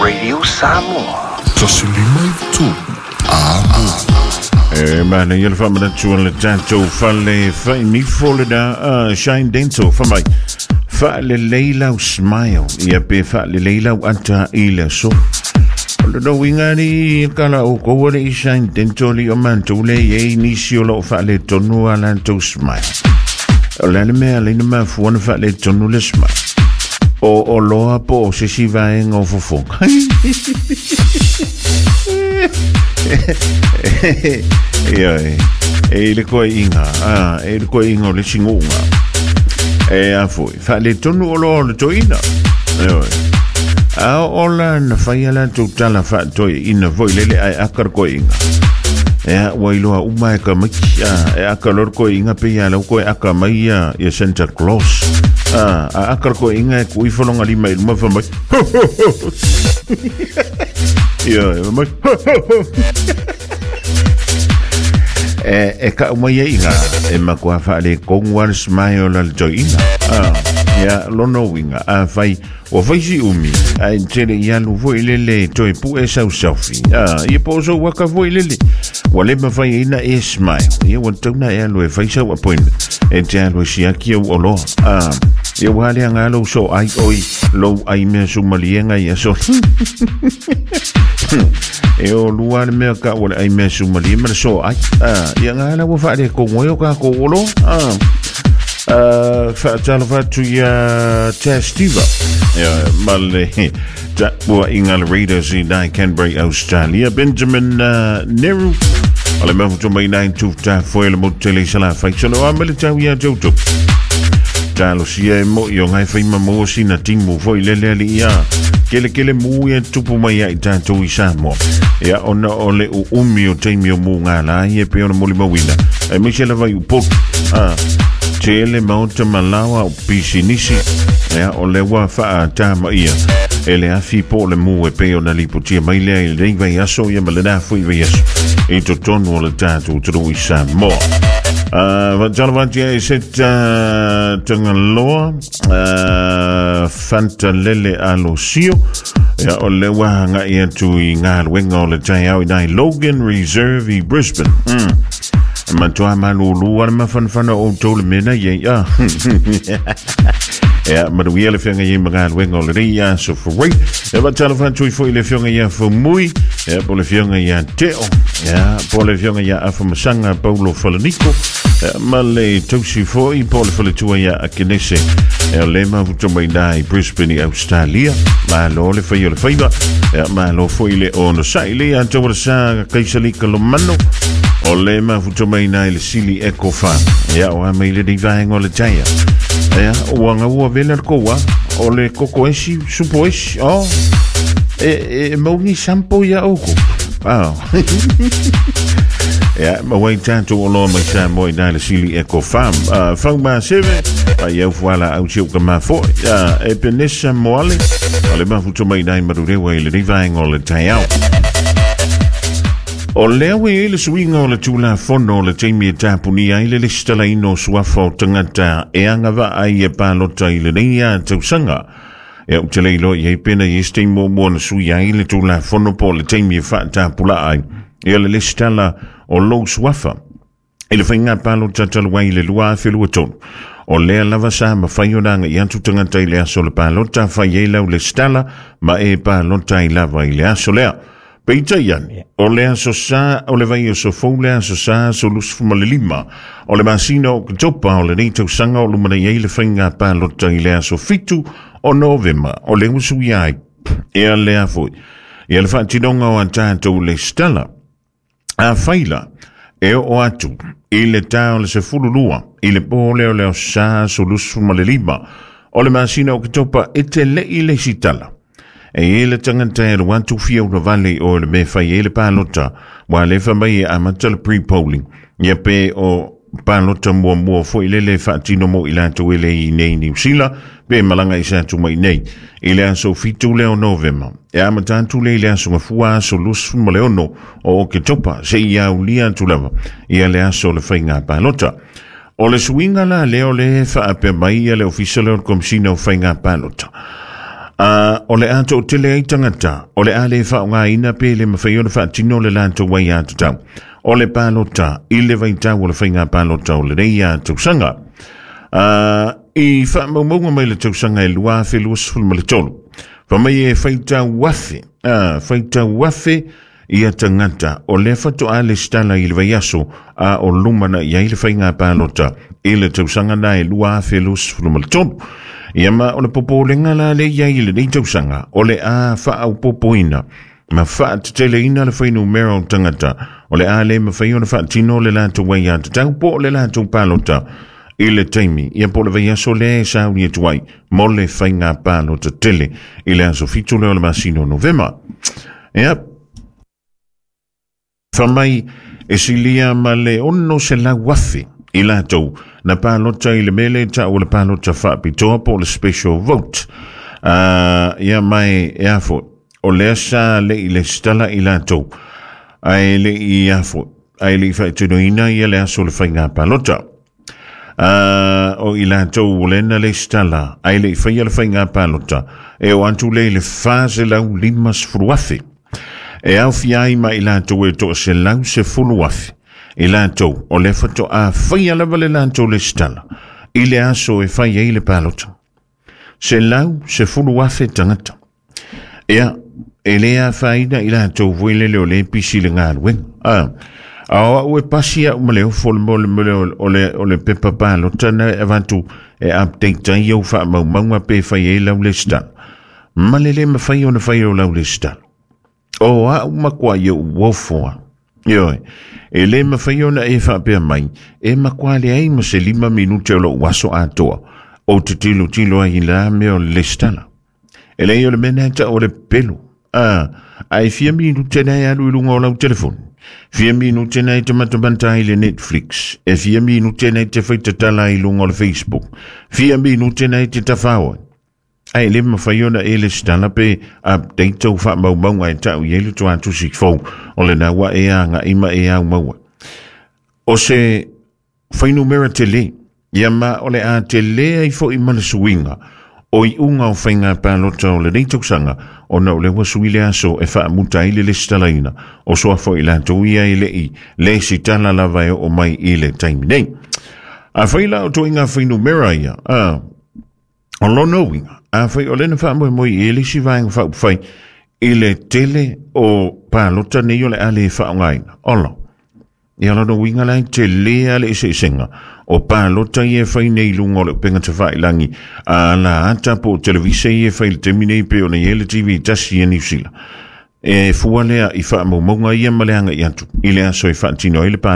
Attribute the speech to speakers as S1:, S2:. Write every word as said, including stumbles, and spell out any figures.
S1: Radio Samoa.
S2: E mana ia le faamanatu le tatou fale fainifo lena Shine Dental famai faalelei lau smile ia pe faalelei lau ata i le aso. O le uiga ni kala o koua le i Shine Dental i o matou le iai nisi o loo faaletonu a latou smile. O le a le mea leina mafua na faaletonu le smile. O o loa po o sesi vaega o fofoga. Ia e e le koe inga ah e le koe inga o le singuga e a foi faaletonu o loa o le toina. Ia a ola na fai ala tu tala fa toina foi lele ai aka le koe inga. Ia ua iloa uma e ka maki e aka lor koe inga pe ia lau koe aka mai ia ia Santa Claus. A a aka le koe inga e kui folonga lima i luma fa mai. Ia e mai. E e ka umai e inga e makua faale kongu le smile la le toina. Ah ia lono winga a fai o fai si umi ai tele ia lu foi lele toi pu e sau selfie. Ah ia po so waka foi lele ua le mafai ina e smile ia ua tauna e alu e fai sau appointment e te alu e siaki au oloa. Ah ia ua le anga lou so ai oi lou ai mea sumaliega ia so. E o lua le mea ka ua le ai mea sumalie ma le so ai. Ah ia ngā la ua faale kongo e o ka ko oloa. Ah Uh, faatalofa atu ia Tastiva ia ma le taua inga le Raiders i nai Canberra, Australia. Benjamin uh, Neru o le mafutu mai nai tuta foe le motu tele i sala faisalo a ma le tau ia tautu. Talosia e mo i o ngai whaima mo sina timu foi lele ali ia kele kele mu ia tupu mai ai tātou i Samoa. Ia ona o le uumi o teimi o mu ngā la ia pe ona moli mawina. E meise lava i upotu. Ah, tele maota malawa o pisinisi. Ia o le wa whaa tāma ia. E le afi po le mu e pe ona lipotia mai lea i le vai aso ia ma le nā fui vai aso. I totonu o le tātou turu i Samoa. Uh, Vatalavantia e se tangaloa uh, Fantalele Alosio ia o le wahanga i atu i ngā luenga o le taiau i nai Logan Reserve i Brisbane. Mm. Matua malulu ana mafanafana o tau le mena ia. Ia manuia le fioga ia ma galuega o lenei aso forai. Ia faatalofa atu ai foi le fioga ia Fomui, ia po le fioga ia Teo, ia po le fioga ia Afamasaga Paulo Falaniko, ia ma le tausi foi po le faletua ia Akenese. Ia le mafuta mai nai Brisbane i Australia. Malo le fai o le faiva, ia malo foi le ono sai le ia tau sa Kaisalika Lomano. O le mafuta mai nai le Sili Eco Farm. Ia o a mai le nei vaega o le taia. Ia ua ngaua vela le koua o le koko esi supo esi. Oh e e maungi sampo ia oko. Ah. Ia ma wai tātou o loa mai sa moi nai le Sili Eco Farm. Uh, fau ma seve a iau fuala au siu ka mafoi. Uh, e Penesa Moale o le mafuta mai nai marurewa i le nei vaega o le taiao. O lea ue e le suiga o le tulafono o le taimi e tapunia ai le lesitalaina o suafa o tagata e agavaa ai e palota i lenei a tausaga. Ia ou te le iloa i ai pena i ese taimi muamua na sui ai le tulafono po o le taimi e faatapulaa ai ia le lesitala o lou suafa i le faiga palota talu ai i le lua afe lua tolu. O lea lava sa mafai ona agai atu tagata i le aso o le palota fai ai lau lesitala ma e palota ai lava i le aso lea. Peitai ane, o le aso sa, o le vai aso fou le aso sa, aso lusufu ma le lima, o le masina o Oketopa, o lenei tausaga o lumanai ai le faiga palota i le aso fitu o Novema, o le usuia ai, ea lea foi, ia le faatinoga o a tatou lesitala. A faila, e oo atu, i le tā o le sefulu lua, i le pō lea o le aso sa, aso lusufu ma le lima, o le masina o Oketopa e te lei lesitala. E e le tagata e alu atu fia una vale o le mea fai e le palota ua le fa mai e amata le pre-polling ia pe o palota muamua foi lele faatino mo i latou e le i nei Niu Sila pe malaga i sa atu mai nei i le aso fitu lea o Novema e amata atu le i le aso gafua aso lusufu ma le ono o Oketopa seia aulia atu lava ia le aso o le faiga palota. O le suiga la lea o le faapea mai ia le ofisa lea o le Komisina o Faiga Palota. Uh, o le a to'atele ai tagata o le a lē faaaogāina pe le mafai ona faatino le latou ai atatau o le palota i le vaitau o le faiga palota o lenei a tausaga. Uh, i faamaumauga mai le tausaga e lua afe luasefulu ma le tolu, famai e faitau afe, uh, faitau afe ia tagata o lea faatoa lesitala i le vaiaso a o lumana'i ai le faiga palota i le tausaga na e lua afe luasefulu ma le tolu. Ia ma o le popolega la le iai i lenei tausaga o le a faaopopoina ma faateteleina le fuainumera o tagata o le a lē mafai ona faatino le latou ai atatau po o le latou palota i le taimi ia po o le vaiaso lea e sauni atu ai mo le faiga palota tele i le aso fitu lea o le masina o Novema. Ia famai e silia ma le ono se lau afe i latou na palota i le mele ta o le palota faapitoa po o le special vote. Uh, ia mai e afo o lea sa le i lesitala i latou ae le i afo ae le i faatinoina ia le aso o le faiga palota. Uh, o i latou o lena lesitala ae le i faia le faiga palota e o atu le i le fa selau lima sefulu afe. E aofia ai ma i latou e toaselau sefulu afe i latou o le faatoa faia lava le latou lesitala i le aso e fai ai le palota. Selau sefulu afe tagata. Ia, e lē afaina i latou foi lele o lē pisi le galuega. Ah, a o au e pasi au ma le ofo le mo le mo le o le o le pepa palota na e avatu e update ai au faamaumauga pe fai ai lau lesitala. Ma le lē mafai ona fai o lau lesitala. O au makuai e uofoa. Ioe, e lē mafai ona e faapea mai, e makuā leai ma se lima minute o lo'u aso atoa, o te tilotilo ai i la mea o le lesitala. E leai o le mea na e ta'u o le pelu. Ah, ae fia minute na e alu i luga o lau telefoni. Fia minute na e te matamata ai le Netflix. E fia minute na e te faitatala ai i luga o le Facebook. Fia minute na e te tafao ai. Ae lē mafai ona e lesitala pe update ou faamaumauga e ta'u i ai le tuatusi fou o lena ua e aga'i ma e au maua. O se fuainumera telē, ia ma o le a telē ai fo'i ma le suiga o iuga o faiga palota o lenei tausaga ona o le ua sui le aso e faamuta ai le lesitalaina o suafa o i latou ia e le'i lesitala lava e oo mai i le taimi nei. Afai la o toaiga fuainumera ia, a o lona uiga, afai o lena faamoemoe i le isi vaega faaupufai i le tele o palota nei o le a lē faaaogāina. Ola. Ia lona uiga la e telē a le eseesega o palota ia e fai nei i luga o le upega tafailagi a la ata po o televise ia e fai i le taimi nei pe ona i ai le T V tasi ia Niu Sila. E fua lea i faamaumauga ia ma le aga'i atu i le aso e faatino ai le palota.